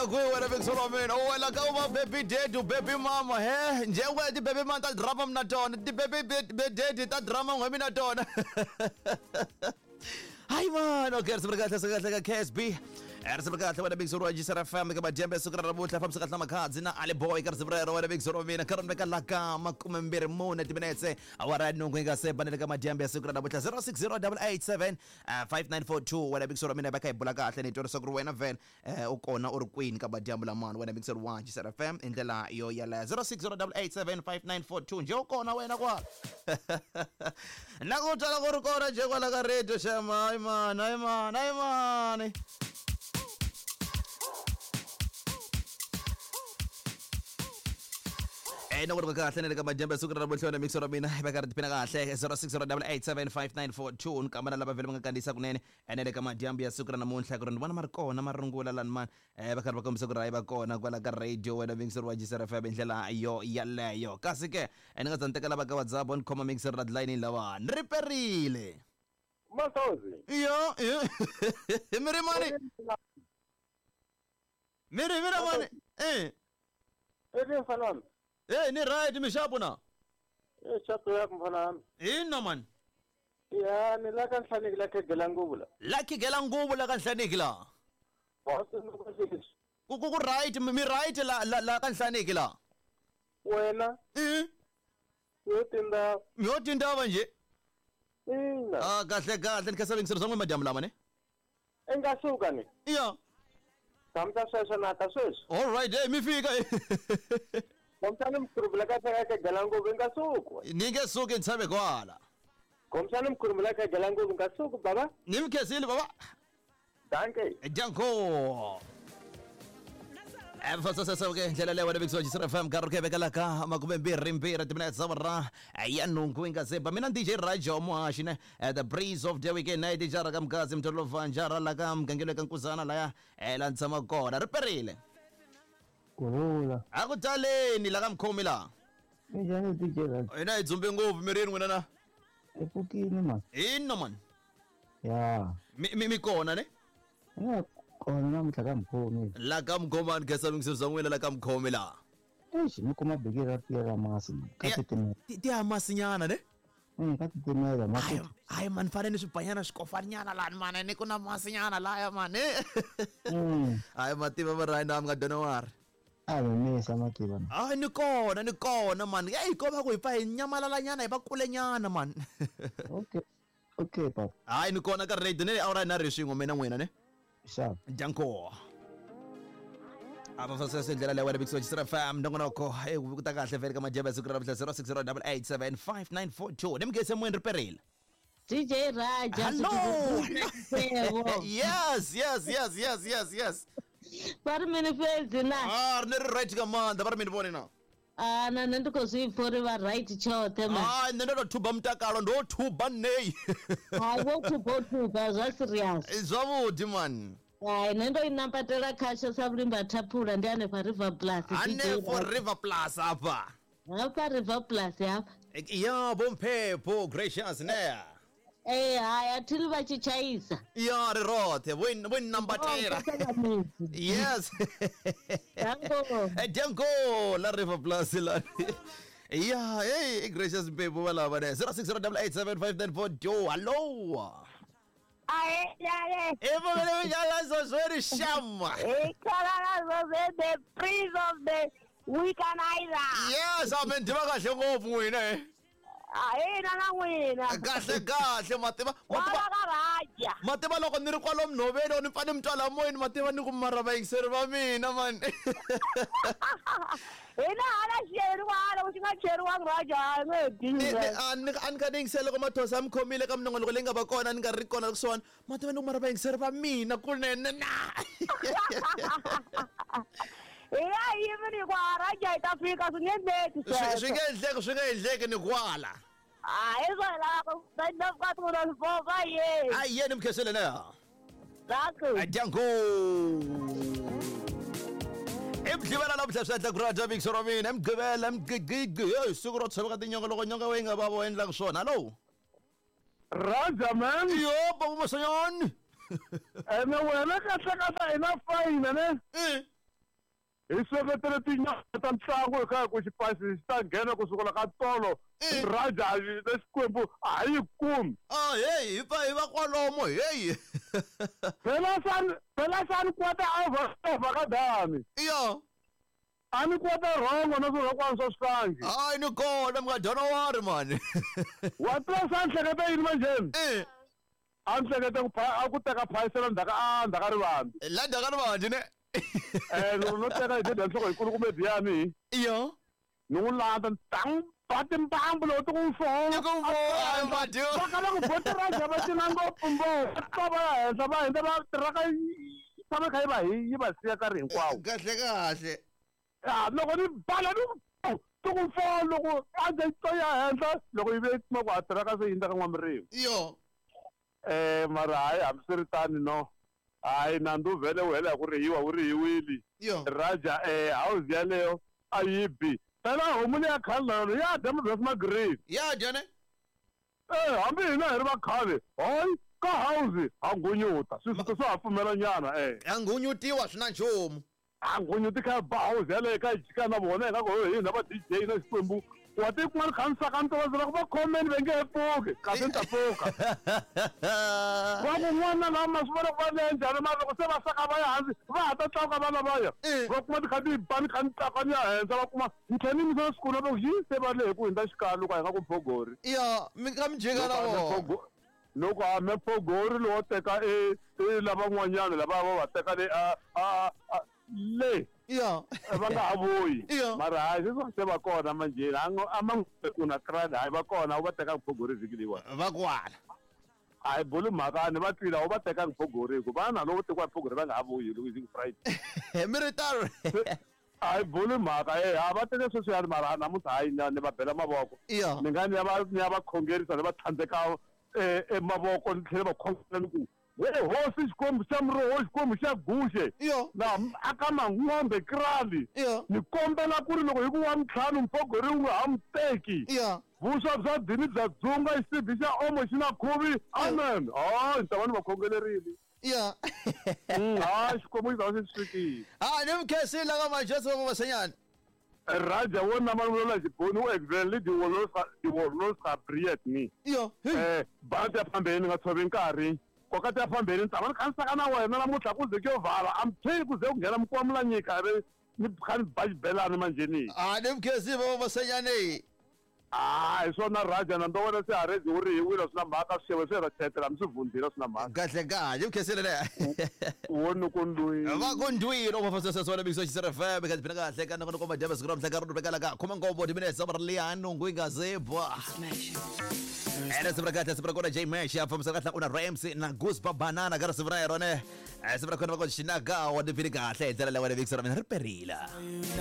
kwihi wena mixolo wa mina? U wela ka u va baby daddy, u baby mama, he? Njhe wena ti-baby mama ta drama mina tona, ti-baby daddy ta drama n'we mina tona. Hayi mani, okay, risimu ri kahle, siku kahle ka KSB. Risimu ri kahle wena mixolo wa Jisara FM ka madyambe siku ra namuntlha fambisa kahle na makhadzi na Ali Boy ka risimu rero wena mixolo wa mina ka rona ka la ka 24 timinetse awara ya nhungu yi nga se banele ka madyambe ya siku ra namuntlha 060887 5942 wena mixolo wa mina va kha hi bula kahle ni twa leswaku ri wena vhele u kona u ri kwini ka madyambu lamani wena mixolo wa Jisara FM i ndlela yo yaleyo 0608875942 njhe u kona wena kwala na ku twala ku ri kona njhe kwala ka radio shema hayi mani hayi mani hayi mani na ku ri kahle na le ka madyambe ya siku ra namuntlha wena mixo ra mina va karhi tiphina kahle 0608875942 ni kamba na lava vhele va nga kandziyisa kunene ene le ka madyambu ya siku ra namuntlha ku ri ni vona ma ri kona marungula lani mani va karhi va kombisa ku ri hayi va kona kwala ka radio wena mixer wa Jisara FM hi ndlela yo yaleyo kasi ke ni nga za ni teka lava ka WhatsApp ni khoma mixer ra line lawa ni ri perile Masozi. Yo, yo. Mi ri mani? Mi ri mi ri mani? Eh. Eri mfana wami. Eh, ni right mixapo na? Eh, xapo ya mfana wami. Ina mani. Ya, ni la ka Nhlaniki la khegela nguvu la. La khegela nguvu la ka Nhlaniki la. Ku ku ku right mi right la la la ka Nhlaniki la. Wena. Eh. Yo tindava. Yo tindava nje. Ina. Ah, kahle kahle ni khensa vingiselo swa n'wina madyambu lama ne. I nga suka ni. Ya. Tshamisa sweswo na ta sweswi. All right, hey mi fika. Khomisani mkhurumbu la ka khegela nguvu i nga suki. Ni nge suki ni tshame kwala. Khomisani mkhurumbu la khegela nguvu nga suki baba. Ni mi khensile baba. Dankie. Danko. Mfasasasa ke ndlela leyo wena Big Soji FM nkarhi ku vekela ka 22 timinetse awara ya nhungu yi nga se ba mina DJ Rajo muhaxi ne the breeze of the weekend na dijara ka mgazi mtolova njara la ka mgangelo ka nkuzana laya la ni tshama kona ri perile Kurhula. A ku taleni la ka mkhomi la. Minjhani DJ Rajo? Hina hi dzumbe ngopfu mirini n'wina na. Hi pfukile mani. Ina mani. Ya. Mi mi mi kona ne? Ina kona namuntlha ka mkhomi. La ka mkhomani khensa vingiselo swa n'wina la ka mkhomi la. Eish ni kuma biki ra tiya ra masi ka titimela. Ti ya masinyana ne? Ka titimela masi. Hayi mani fane ni swibanyana swikofanyana lani mani ni ku na masinyana laya mani. Hayi mativa va ri na mi nga dona wari. A mi misa mativa. Hayi ni kona ni kona mani. Hey ko va ku hi pfa hi nyamalalanyana hi va kulenyana mani. Okay. Okay papa. Hayi ni kona ka radio ne awara na ri swin'we mina n'wina ne. Sharp. Danko. Ava fasese ndlela leyi wena Big Soji FM nongonoko hey ku ta kahle vele ka madyambu ya siku ra namuntlha 0608875942 ni mugese moyeni ri perile. DJ Raja. Hello. Yes, yes, yes, yes, yes, yes. Va ri mini fhedzi na? Ah, ri ne ri right nga maanḓa va ri mini vhone na. Ah, na nṋe ndi khou zwi pfa uri vha right tshoṱhe ma. Ah, nṋe ndo to thuba mutakalo ndo thuba nei. Hai wo thuba o thuba zwa serious. Zwavhuḓi man. Hai nṋe ndo i nambatela khasho sa vhulimba thaphula ndi hanefha River Plus. Hanefho River Plus hafha. Hafha River Plus hafha. Ya vho Mphepho Gracious ne. Eh hai a thi vha tshi tshaisa. Ya ri roṱhe vho nambatela. Yes. Danko. Danko la River Plus la. Ya hey Gracious Mphepho va lava ne 0608875942 hello. Ae, ae. E vele jala so shama. E khala the prince of the weekenizer. Yes, amen ndiva kahle ngopfu n'wina eh. Ae na na n'wina. Kahle kahle mativa mativa ka Raja. Mativa loko ni ri kwalomu nhoveni ni pfa ni mi twa la moyeni mativa ni ku mara vayingiseri va mina man. Hina hala xeriwa hala ku xi nga cheriwangi Raja a nge dyi. A ni a ni kha ni yingisela loko mathosa mi khomile ka minongonoko leyi nga va kona ni nga ri kona kusuhani mativa ni ku mara vayingiseri va mina kunene na. Hi nga yimi ni ku a Raja yi ta fika swi nge endleki sweswo. Swi nge endleki swi nge endleki ni kwala. Ah, hi swona lavaka ku ye. A yeni mi khensile na. Danko. Danko. I mugqivela namuntlha swi endla ku Raja Mixer wa mina mugqivela mugqigqi hey siku ro tshoveka tinyonga loko nyonga yi nga vava u endlaka swona hallo. Raja man. Yo baba Masanyani. Ene wena kahle kahle ina fine ne. Eh. Hi seketele tinyama ta ntlangu hi kha hi ku xipasi xi ta nghena kusukela ka tolo. Raja na Xikwembu a ha yi kumi. Ah, heyi hi pfa hi va kwalomo heyi. Phela sani phela sani kwata over over ka dani. Iyo. A ni kwata rhongo na swirhokwana swa swihlangi. Hayi ni kona mi nga dyona wari mani. Wa tiva swa ni hleketa yini manjheni? Eh. A ni hleketa ku a ku teka phayisela ndzhaka a ndzhaka rivambi. La ndzhaka rivambi ne. Eh loko no teka hi dya nhloko yikulu kumbe diyani hi. Iyo. Ni n'wi landza ni ta n'wi ba timbambu loko ti ku mfo. Ti ku mfo, madi. Va kala ku boti ra va cina ngopfu mbo. Va va ya henhla va hindza va tirhaka yi tshama kha yi va hi yi va siya nkarhi hinkwawo. Kahle kahle. Ya loko ni bala ni ti ku mfo loko a ndzi to ya henhla loko yi ve kuma ku a tirhaka se yindza ka n'wamirimi. Iyo. Mara hayi hambiswiritano no. Hayi nandzu vhele wu hela hi ku rihiwa wu rihiwile. Iyo. Raja house yaleyo a yi bi. Phela homu leya khale na yona ya dya mabyasi ma green. Ya dya ne? Hambi hina hi ri va khale, hayi ka house ha ngunyuta. Swisuti swa ha pfumela nyana Ha ngunyutiwa swi na nchumu. Ha ngunyuti kha ba house yaleyo kha yi jika na vona hi nga ku hina va DJ na Xikwembu. Wa ti kun'wana kha ni saka ni tiva ku va khomeni va nge he pfuki kasi ni ta pfuka. Va ku n'wana lava ma swi vona ku va le njhani mara loko se va saka va ya hansi va ha ta tlakuka va lavaya. Va kuma ti kha ti ba ni kha ni tlakuka ni ya henhla va kuma ni tlhela ni yimisa siku va ku xi se va lehe ku hundza xikalo loko a hi nga ku phogori. Ya mi kha mi jika na vona. Loko a me phogori lowo teka e lavan'wanyana lava va va teka le a le. Ya. Va nga ha vuyi. Ya. Mara hayi sweswi se va kona manjheni a ngo a ma ku na krani hayi va kona u va teka phogori vhiki leyiwani. Va kwala. A hi buli mhaka ni va twile a wu va tekanga phogori hi ku vana loko tekiwa phogori va nga ha vuyi loko hi Friday. Mi ri tano. A hi buli mhaka a va teke sweswiyani mara namuntlha hayi ni va bela mavoko. Ya. Ni nga ni ya va ni ya va khongerisa ni va tlhandleka e mavoko ni tlhela va khongela ni ku we hosi Xikwembu xa muroho Xikwembu xa guxe. Iyo. Na aka mang'ombe krali. Iyo. Ni kombela ku ri loko hi ku wa ntlhanu mphogori wu nga ha mu teki. Iyo. Vuswa bya dini bya dzunga xisibi xa omo xi na khuvi. Amen. Hayi ni ta va ni va khongelerile. Iyo. Hayi Xikwembu xi ta va xi swi fikile. Ah ni mi khensile ka Majesu va Masenyana. Raja wo na malume la xiboni u exele diwolosa briet ni. Iyo. Bana ti ya phambeni nga tshovi nkarhi. Koka ti ya phambeni ni tshama ni kha ni saka na wena namuntlha ku ze ku yo vala. I'm telling ku ze ku nghena mikwamula nyika ve ni kha ni ba xibelani manjheni. Ah ni mi khensile va Masenyane. Ah hi swona Raja na ndo wena se harezi wu rihiwile swi na mhaka swixevo swi ra chetela mi swi vundzile swi na mhaka. Kahle kahle mi khensile le. Wo ni ku ndwini. Va ku ndwini o mafasa swa na biso xisera FM ka tiphina kahle ka nako komba dyambe siku ra mhla ka ri vekela ka khoma nkombo timinetse ra liyano ngwingazebwa. Ene sibra kahle sibra kona J Mesh ya famisa kahle una Ramsey na Goose Banana ka sibra yona. Sibra kona va ku xinaka wa tiphina kahle hi ndlela leyi wa Vixen ra mina ri perila.